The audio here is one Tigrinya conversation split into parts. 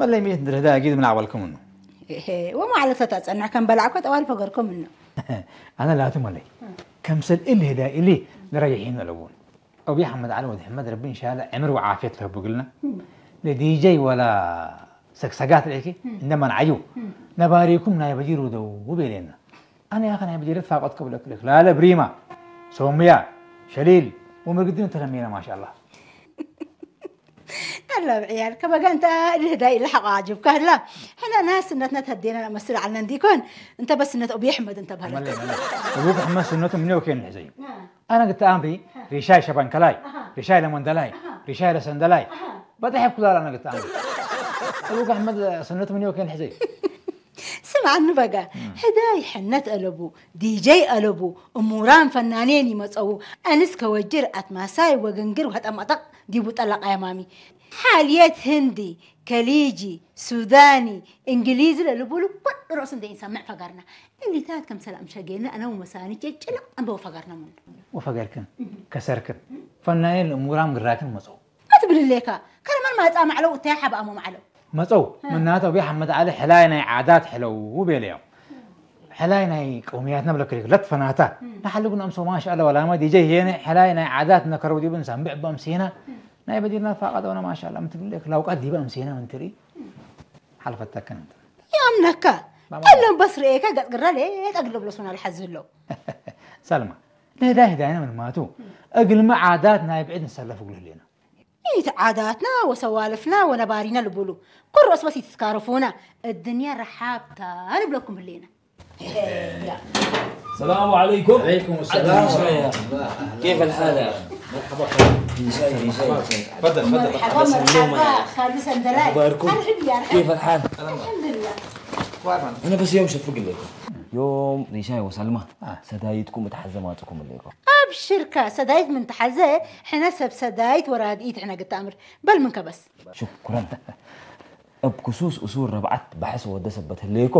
እለይ ሚእት እንድርህዳ ጊድ ምን ኣቕበልኩም እኑ። እሄ፣ ወማዕለተ ተጸንሕ ከም በላዕኮ ጠዋል ፈገርኩም እኑ። ኣነ ላቱ መለይ። ከምሰል እል ህዳ ኢሊ ንረጊሒን ኣለውን። أبي أحمد علي ولد حمد ربي إن شاء الله عمر وعافية له بقلنا. لدي جي ولا سكسكات ليكي. عندما نعيو. نباريكم ناي بجيرو دو وبيلينا. ኣነ ያኸ ናይ ብጀለት ፋቆት ክብለክ ልክ ላለ ብሪማ ሶምያ ሸሊል ወመርግድን ተለሚና ማሻ ኣላ። ኣላ ብዕያል ከበጋንታ ልህዳይ ኢላ ሓቋ ዓጅብካ ህላ ሕና ናስነትና ተዴና መስል ዓልና እንዲኮን እንተ በስነት ኦብየ ሕመድ እንተ በህለት። መለ መለ እቡክ ሕመድ ስነቱ ምን ወኬን ሕዘዩ ኣነ ግታ ኣምሪ ሪሻይ ሸባንከላይ ሪሻይ ለመንደላይ ሪሻይ ለሰንደላይ በጣሕ ኩላል ኣነ ግታ ኣምሪ እቡክ ሕመድ ስነቱ ምን ወኬን ሕዘዩ ስምዓኒ በጋ፣ ሕዳይ ሕነት አለቡ፣ ዲጀይ አለቡ፣ እሙራን ፈናኔን ይመጸዉ፣ አንስ ከወጅር አትማሳይ ወግንግር ወጠመጠቅ ዲቡ ጠለቃ የማሚ። ሓልየት ህንዲ፣ ከሊጂ፣ ሱዳኒ፣ እንግሊዝ ለልቡሉ ኩሉ ርእሱ እንደ ኢንሰምዕ ፈገርና። እሊታት ከም ሰላም ሸጌነ አነ ወመሳኒ ጭጭልቅ አንበው ፈገርና ሙን። وفقركن كسركن ፈናኔን እሙራን ግራክን መጸው። ኣትብል ሌካ ከረመን ማጻ ማዕለው እታይ ሓብኣሞ ማዕለው መጸው ምናተ ቢ ሓመድ ዓሊ ሕላይ ናይ ዓዳት ሕለው ቤለዮም። ሕላይ ናይ ቀውምያትና ብለክሪክ ለትፈናታ ንሓልጉን ኣምሶ ማሻ ኣላ ወላማ ዲጀ ሄነ ሕላይ ናይ ዓዳት ነከረው ዲብን ሳምብዕ በምሴና ናይ በዲርና ፋቃ ደውና ማሻ ኣላ ምትብል ሌክ ላውቃት ዲበ ኣምሴና ምንትሪ ሓልፈተከን እንተ ያምነካ ባባ። ቀለም በስ ርኤካ ገጽ ግራ ሌጣ ግለብለሱና ልሓዝ ህለው ሰልማ ንህዳይ ህዳይና ምንማቱ እግልሚ ዓዳት ናይ ብዕድ ንሰለፍ እግሉ ህሌና ኢቲ ዓዳትና ወሰዋልፍና ወነባሪና ልቡሉ ኩሮስ በስ ይትትካረፉና እድንያ ረሓብታ ንብለኩም ህሌና السلام عليكم. عليكم السلام ورحمة الله. كيف الحال يا اخي؟ مرحبا خالد. ازاي ازاي؟ تفضل تفضل. مرحبا مرحبا خالد سندلاي. اخباركم؟ الحمد لله. كيف الحال؟ الحمد لله. انا بس يوم شفق لكم. يوم ريشاي وسلمى. سدايتكم متحزماتكم لكم. أبشركا سدايت من تحزة. حنا سب سدايت وراد ايت حنا قد امر. بل من كبس. شكرا. እብ ክሱስ እሱር ረብዓት ባሕስ ወደ ሰበት ህለየኮ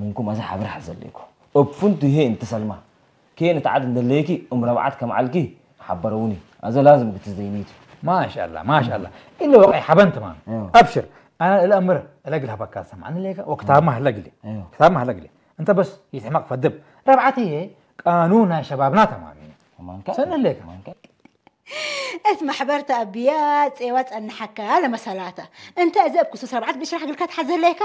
ምንኩም ኣዘ ሓብር ሓዘለየኮ እብ ፍንቱ ይሄ እንተ ሰልማ ኬን እትዓድ እንደለየኪ እም ረብዓት ከም ዓልኪ ሓበረውኒ ኣዘ ላዝም ክትዘይኒቱ ማሻላ ማሻላ ኢለ ወቀይ ሓበን ተማም ኣብሽር ኣነ እለ እምር እለ ግል ሃበካ ሰማዕኒ ለየከ ወክታብ ማህለ ግሊ ክታብ ማህለ ግሊ እንተ በስ ይትሕመቅ ፈድብ ረብዓት ይሄ ቃኑ ናይ ሸባብና ተማም ሰነ ለየከ እት መሕበር ተኣቢያ ጼዋ ጸንሓካ ለመሰላታ እንተ እዚ እብ ክሱስ ረብዓት ብሽራሕ ግልካ ትሓዘለይካ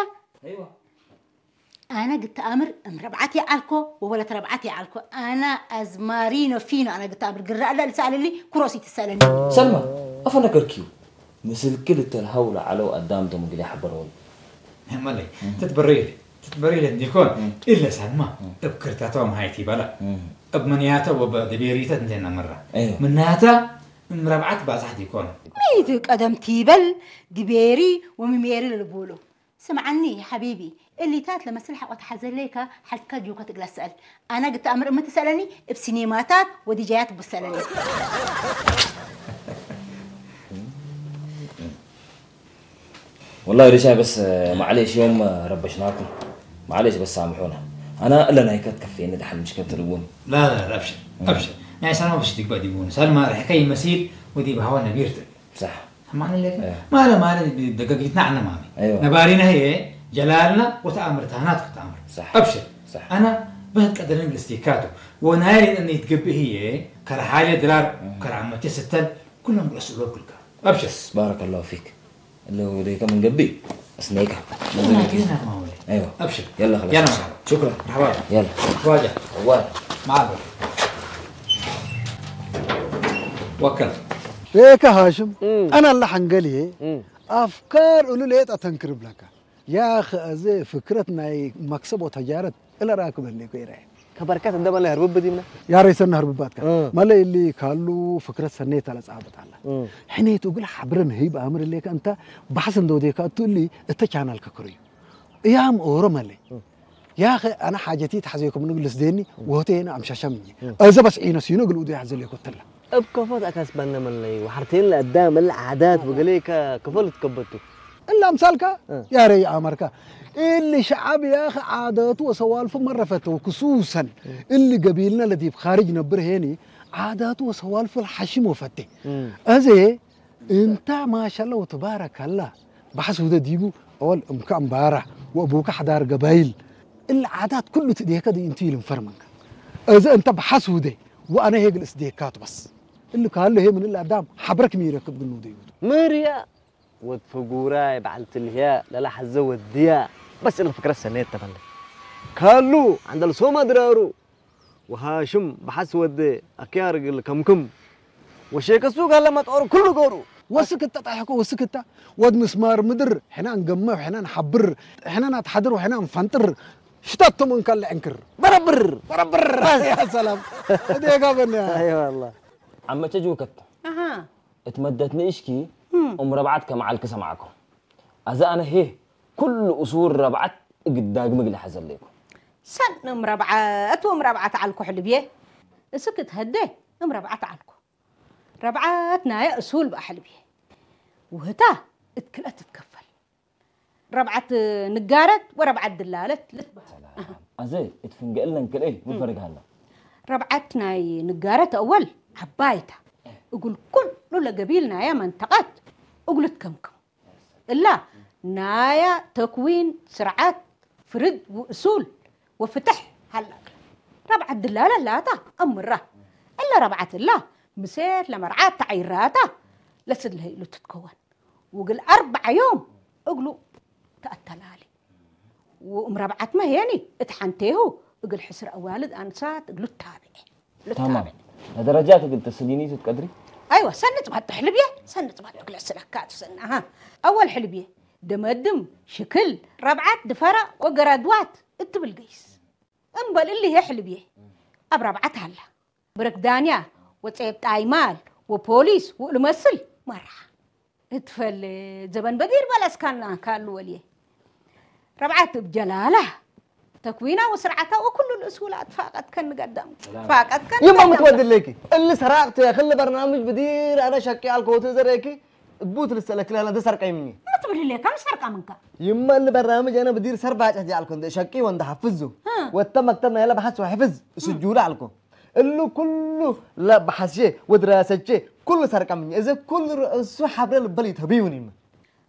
ኣነ ግተኣምር እም ረብዓት የዓልኮ ወወለት ረብዓት የዓልኮ ኣነ ኣዝማሪኖ ፊኖ ኣነ ግተኣምር ግራ ኣለ ልሰኣለኒ ኩሮስ ይትሰለኒ ሰልማ ኣፈነገርኪዩ ምስልኪ ልተልሃው ለዓለው ኣዳም ተምግል ይሓበረወል መለይ ትትበረይል ትትበረይል እንዲኮን ኢለ ሰልማ እብ ክርታቶም ሃይቲ በላ እብ መንያተ ወበ ደቤሪተት እንቴና መራ ምናታ እም ረብዓት ባዛሕ ዲኮን ሚት ቀደም ቲበል ድቤሪ ወሚሜሪ ልልቡሉ ስምዓኒ ሓቢቢ እሊታት ለመስል ሓቆ ተሓዘለይካ ሓልካ ጁከ ትግላ ስአል ኣነ ግተኣምር እምትሰለኒ እብ ሲኔማታት ወዲጃያት ብሰለኒ والله ريشاي بس معليش يوم ربشناكم معليش بس سامحونا انا الا نايكت كفيني دحل مش كنت الون لا لا لا ابشر ابشر يعني سلمى بس تقبل يقول سلمى رح كي مسير ودي بهوانا بيرتك صح ማን ለከ ማለ ማለ ደገጊትና ዓነ ማሚ ነባሪና ህየ ጀላልና ወተኣምር ታህናት ክትኣምር ኣብሽር ኣና በህት ቀደርን ልስቲካቱ ወናየ ሊጠኒ ይትገብእ ህየ ከረሓለ ድራር ከረዓመቴ ስተል ኩሎም ግለስ እሎ ኩልካ ኣብሽር ባረከላሁ ፊክ እለ ወደይከ ምን ገብእ እስነይካ أيوة أبشر يلا خلاص يلا مرحبا شكرا مرحبا يلا واجه أول معاذ وكل ليك هاشم أنا اللي حنقلي أفكار أولو ليت أتنكر بلك يا أخي أزي فكرتنا مكسب وتجارت إلا راكب اللي كيري ከበርካት እንደ መለ ህርብብ ዲምና ያሬሰና ህርብባትካ መለ እሊ ካሉ ፍክረት ሰኔት ኣለ ጻብጥ ኣላ ሕኔቱ ግል ሓብረን ህይብ ኣምር ሌካ እንተ ባሕስ እንደ ወዴካ እቱ እሊ እተ ቻናል ከክርዩ እያም ኦሮ መለ ያኸ ኣነ ሓጀቲ ተሓዘኩም ንግልስ ደኒ ወሆቴ የነ ኣምሻሻም እየ እዘ በስ ዒነ ሲኖ ግል ኡዱ ያሕዘ ሌኮ ተላ እብ ከፎት ኣካስባነ መለይ ወሓርቴን ለኣዳ መለ ዓዳት ወገሌ ከፈል ትከበቱ እላ ምሳልካ ያረይ ኣመርካ እሊ ሸዓብ ያኸ ዓደቱ ወሰዋልፉ መረፈተው ክሱሰን እሊ ገቢልና ለዲብ ኻርጅ ነብር ሄኒ ዓዳቱ ወሰዋልፉ ለሓሽም ወፈቴ እዜ እንታ ማሻላ ወትባረከላ ባሕስ ውደ ዲቡ፣ ኣወል እምካ እምባራ፣ ወእቡካ ሓዳር ገባይል። እለ ዓዳት ኩሉ ትዴከ ዲ እንቱ ይልንፈር መንካ። እዚ እንተ ባሕስ ውደ፣ ወኣነ ሄግል እስዴካቱ በስ። እሊ ካሎ ሄ ምን እለ ኣዳም ሓብረክ ሚረክብ ግን ውደ ይውዱ። መርያ ወድ ፈጉራይ በዓል ትልህያ ለላ ሓዘ ወድያ። በስ እለ ፍክረት ሰነየት ተበለ። ካሉ ዓንደል ሶማ ድራሩ። ወሃሽም በሓስ ወደ ኣክያር ግል ከምክም። ወሼከሱ ጋለ መጦር ኩሉ ገሩ። ወስክታ ጣሕኮ ወስክታ። ወድ ምስማር ምድር፣ ሕና ንገምዕ፣ ሕና ንሓብር፣ ሕና ናትሓድር፣ ሕና ንፈንጥር። ሽታቶ መንካለ ዕንክር። በረብር። በረብር። በስ። ያ ሰላም። እዴጋ በና። ኣይ ዋላ። ዓመቸ ጅውከት። ኣሃ። እትመደት ንእሽኪ እም። እም ረብዓት ከመዓልክ ሰማዕኮ። ኣዛ ኣነ ሄ ኩሉ እሱር ረብዓት እግዳግ ምግሊ ሓዘለይኩ። ሰን እም ረብዓት፣ እም ረብዓት ዓልኩ ሕልብየ። እስክ ትሀደ እም ረብዓት ዓልኩ። ረብዓት ናየ እሱል በኣሕልብየ። ውህታ እትክልአት ትትከፈል። ረብዓት ንጋረት ወረብዓት ድላለት ልትበሃል። ሰላም። ኣዘ እትፍንገእለን ክልኤ ምፈርግሃላ። ረብዓት ናይ ንጋረት ኣወል ዓባይታ። እጉል ኩሉ ለገቢል ናያ መንተቃት እጉል ትከምክም። እላ ናያ ተክዊን ስርዓት ፍርድ ውእሱል ወፍትሕ ሃላ። ረብዓት ድላለ ላታ ኣምራ። እላ ረብዓት እላ ምሴት ለመርዓት ተዓይራታ ለስድለህ ኢሉ ትትከወን። ውግል ኣርባዓ ዮም እግሉ ተኣተላሊ። ወእም ረብዓት መሄኒ እት ሓንቴሁ እግል ሕስር ኣዋልድ ኣንሳት እግሉ ታብዐ። ታማም። ለደረጃት እግል ተስዲኒቱ ትቀድሪ? ኣይዋ፣ ሰኒ ጽባጥ ሕልብየ፣ ሰኒ ጽባጥ እግለ ስለካ ትሰና። ኣሃ። ኣወል ሕልብየ፣ ደመድም፣ ሽክል፣ ረብዓት ድፈራ ወገራድዋት እትብል ገይስ። እምበል እሊ ህየ ሕልብየ። ኣብ ረብዓት ሃላ። ብረክ ዳንያ፣ ወጸየብ ጣይማል፣ ወፖሊስ፣ ውእሉ መስል፣ መርሓ። እትፈል ዘበን በዲር በለስካና ካሉ ወልየ። ረብዓት እብ ጀላላ። ተክዊና ወስርዓታ ወኩሉ ልእስውላ ትፋቀት ከንገዳም። ትፋቀት ከንገዳም። ይማ ምትወድለኪ። እሊ ሰራቅት ክል በርናምጅ ብዲር ኣነ ሸቂ ኣልኮ ወትዘረኪ። ቡት ልሰለክ ለና ተሰርቀይ ምኒ። ማ ትብል ለካ ምሰርቃ ምንካ። ይማ እሊ በርናምጅ ኣነ ብዲር ሰርባጭ ጃልኮ እንደ ሸቂ ወንደ ሓፍዙ። እ። ወተ መክተብ ናይለ በሓስ ወሕፍዝ። ስጁላ ኣልኮ። እሉ ኩሉ ለበሓስቼ ወድራሰቼ ኩሉ ሰርቀምኝ። እዚ ኩሉ ርእሱ ሓብረ ልበል ይተብዩን ይም።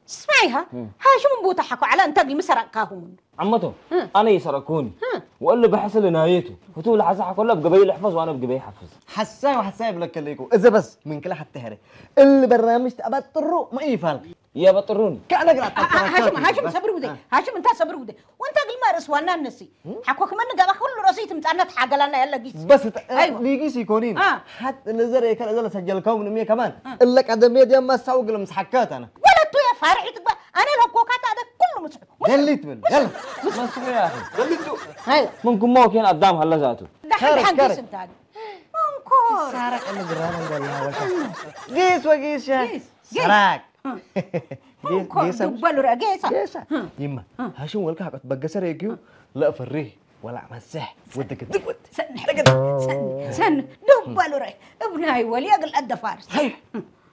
ስማይሃ፣ እም። ሃሽም ቦታ ሓኮ ዓላ እንተ ቢሚ ሰረቅካሁም። ዓመቶ፣ እም። ኣነ ይሰረቅኩኒ። እም። ወእሉ ብሕስል ናየቱ። ህቱ ለሓሳ ሓኮላ ብገበይ ልሕፈዝ ዋነ ብገበይ ሓፍዝ። ሓሳይ ወሓሳይ ብለከለይኩ። እዚ በስ ምን ክላ ሓተ ሄረ። እል በራምሽ ተኣባጥሩ ማ ይፋል። የበጥሩኒ። ከነግራ ሃሽም፣ ሃሽም ሰብሪ ውደ። አ። ሃሽም እንታ ሰብሪ ውደ። ወንታ ግልማ ርእስ ዋና ነሲ። እም? ሓኮ ክመን ገባ ኩሉ ርእሲ ትምጻና ተሓገላና ያለ ጊስ። በስ ተ-፣ ኣይዋ። ሊጊስ ይኮኒን። አ። ሓት ንዘር የከለ ዘለ ሰጀልከው ምንም ከማን። አ። እለ ቀደም የዲያ ማሳው ግልም ስሓከት ኣነ። ወለቱ ያ ፋርሒ ትግባ። ኣነ ለኮካ ታደ ኩሉ ምስሑ። ገሊት ብል። ገል። መስሑ ያ ኣኺ። ገሊቱ። ኣይ። ምን ኩሞ ኬን ኣዳም ሃለ ዛቱ። ዳሕን ካረ፣ ዳሕን ካረ። ጊስ እንታ። መንኮር። ሳራ ቀለ ግራና እንደላ ወሻ። ጊስ ወጊስ ሻ። ጊስ። ጊስ። ሰራቅ። እ። ጌ-፣ ጌሳ። ዱበሉ ረ-፣ ጌሳ። ጌሳ። እ። ይማ። እ። ሃሽም ወልካ ሓቆት በገሰ ረጊዩ እ። ለእፈሪ ወላ መሰሕ ወደገ ድግወት። ሰን-፣ ሰን-፣ ሰን-፣ ዱበሉ ረ-፣ እብናይ ወሊ እግል ኣደፋርስ። ሃይ። እ።